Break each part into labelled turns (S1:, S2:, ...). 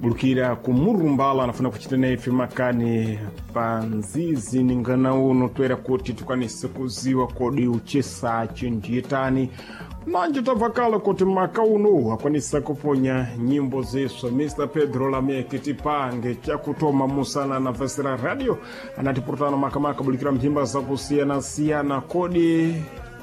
S1: Bulukira kumurumbala anafuna kuchita naife makani pa nzizi ningana uno toera kuti tikwanise kuziwa kodi uchesachi ndiyetani manje tabvakala kuti maka uno akwanisa kuponya nyimbo ziswa. Mr Pedro Lameki tipange chakutoma musana na vesera radio anatipurutana makamaka bulikira mphimba zakusiyana-siyana. Kodi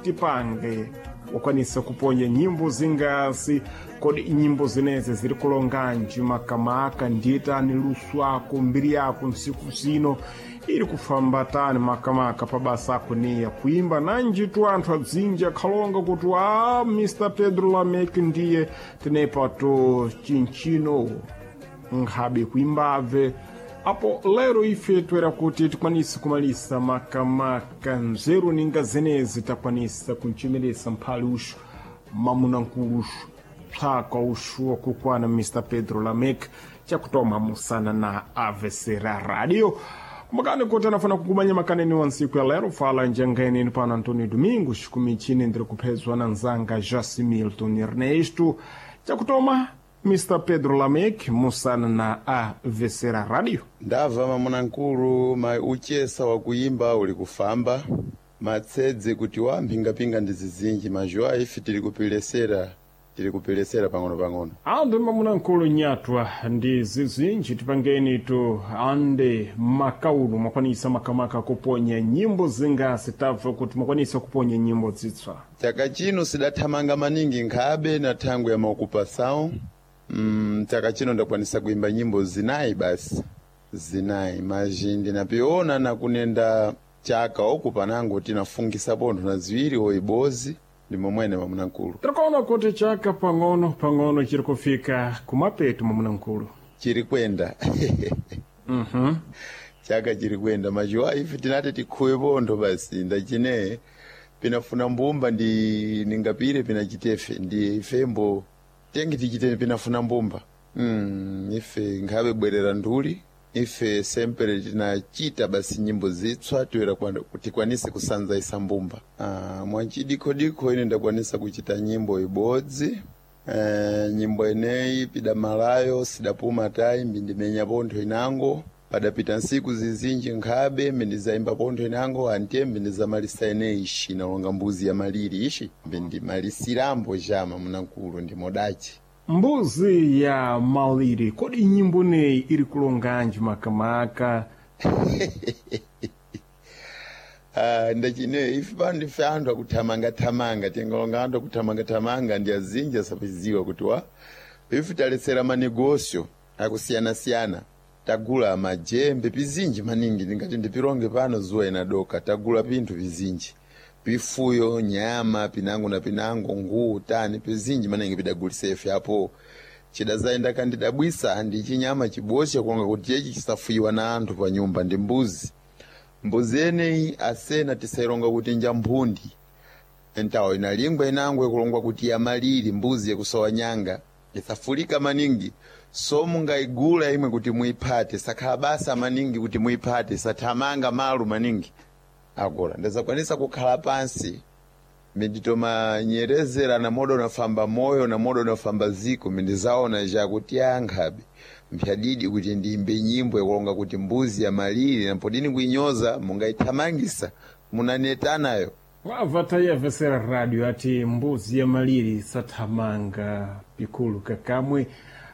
S1: tipange wakwanisa kuponya nyimbo zingasi? Kodi nyimbo zinezi ziri kulonganji makamaka ndiyetani lusu ako mbiri yako nsiku zino iri kufamba tani makamaka pabasa ako niya kuimba nanjitu anthu adzinji akhalonga kuti a Mr Pedro Lamek ndiye tinepato chinchino nkhabe kuimbabve. Apo lero ife toera kuti tikwanise kumalisa makamaka nzeru ninga zenezi takwanisa kunchemeresa mphali uxu mamunankulu uxu psaka uxu wakukwana Mr Pedro Lamek chakutoma musana na avesera radio. Kumbukani kuti anafuna kukumanya makaneni wa nsiku ya lero fala njangaeneni pano Antônio Domingos kumichini ndiri kuphezwa na nzanga Jasi Milton Ernesto. Chakutoma Mr Pedro Lamek musana na avesera radio.
S2: Ndabva mamunankulu, ma uchesa wakuyimba uli kufamba matsedze kuti wa mphingapinga ndi zizinji mazhuwa ife tili kupilesera, tili kupilesera pang'ono-pang'ono.
S1: Ande mamunankulu nyatwa ndi zizinji tipangeni tu ande makauno mwakwanisa makamaka kuponya nyimbo zingasi? Tabva kuti mwakwanisa kuponya nyimbo zitswa.
S2: Chaka chino sidathamanga maningi nkhabe na thangwe ya maokupasawo. Chaka chino ndakwanisa kuimba nyimbo zinayi basi, zinayi mazhi ndinapiona na kunenda chaka oku panango tinafungisa pontho na ziwiri oibozi ndi momwene mamunankulu.
S1: Tikuona kuti chaka pang'ono pang'ono chiri kufika kumapeto mamunankulu.
S2: Chiri kwenda. Chaka chiri kwenda majuwa ife tinati tikhuwe pontho basi ndachine pinafuna mbumba ndi ningapire pinachitefe ndi ifembo tengi tichite pinafuna mbumba. Ife nkhabe bwerera nduli ife sempere tinachita basi nyimbo zitswa toera tikwanise kusanza isa mbumba. Mwanchidikhodikho ine ndakwanisa kuchita nyimbo ibodzi. Nyimbo ineyi pidamalayo sidapuma tayi mbindimenya pontho inango padapita nsiku zizinji nkhabe mbindizayimba pontho inango antiye mbindizamalisa ineyi ishi inalonga mbuzi ya maliri ishi mbindimalisirambo jama munankulu ndi modachi.
S1: Mbuzi ya maliri, kodi nyimbo neyi iri kulonganji makamaka?
S2: Ndachine ife pano ndife anthu akuthamangathamanga tingalonga anthu akuthamangathamanga ndi azinji asapiziwa kuti wa ife talesera manegosio akusiyana-siyana tagula majembe pizinji maningi ndingati ndipilonge pano zuwa inadoka tagula pinthu pizinji pifuyo nyama pinango na pinango nguwu tani pizinji maningi pidagulisa ife apo chidazayenda kandidabwisa ndi chinyama chibosha kulonga kuti chechi chisafuyiwa na anthu pa nyumba ndi mbuzi. Mbuzi eneyi asena tisailonga kuti nja mphundi entawo inalingwa inango ikulongwa kuti yamaliri mbuzi yakusowa nyanga isafulika maningi so mungaigula imwe kuti muiphate sakhala basa maningi kuti muiphate sathamanga malu maningi agora ndazakwanisa kukhala pansi minditomanyerezera na modo nafamba moyo na modo nafamba ziko mindizaona jakuti ankhabe mphyadidi kuti ndiyimbe nyimbo yakulonga kuti mbuzi ya maliri napodini kuinyoza mungaithamangisa munanetanayo.
S1: Wabva tayavesera radio ati mbuzi ya maliri sathamanga pikulu kakamwe.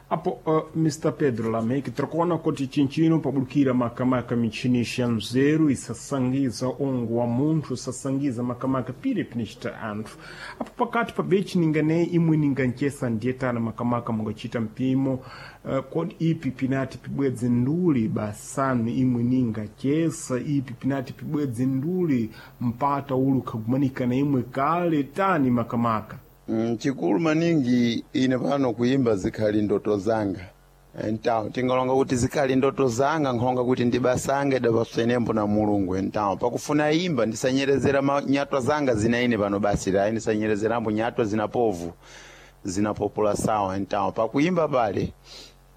S1: Apo Mr Pedro Lamek tikuona kuti chinchino pabulukira makamaka michini ya nzeru isasangiza ongo wa munthu isasangiza makamaka pire pinichita anthu apo pakati pa bechi ninganeyi imwe ninganchesa ndiyetana makamaka mungachita mpimo kodi ipi pinati pibwedze nduli basanu imwe ningachesa ipi pinati pibwedze nduli mpata ulu khagumanika na imwe kale tani makamaka?
S2: Chikulu maningi ine pano kuimba zikhali ndoto zanga entawo tingalonga kuti zikhali ndoto zanga nkhonga kuti ndibasanga idapaswenembo na Mulungu entawo pakufuna imba ndisanyerezera nyatwa zanga zina ine pano basi layi ndisanyerezerambo nyatwa zina povu zina populasawa entawo pakuimba pale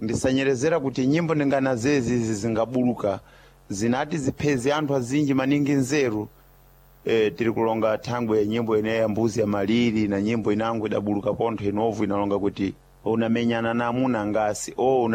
S2: ndisanyerezera kuti nyimbo ndingana zezi izi zingabuluka zinati zipheze anthu azinji maningi nzeru. Tiri kulonga thangwe nyimbo ineyi ya mbuzi ya maliri na nyimbo inango idabuluka pontho inovu inalonga kuti unamenyana na amuna ngasi o una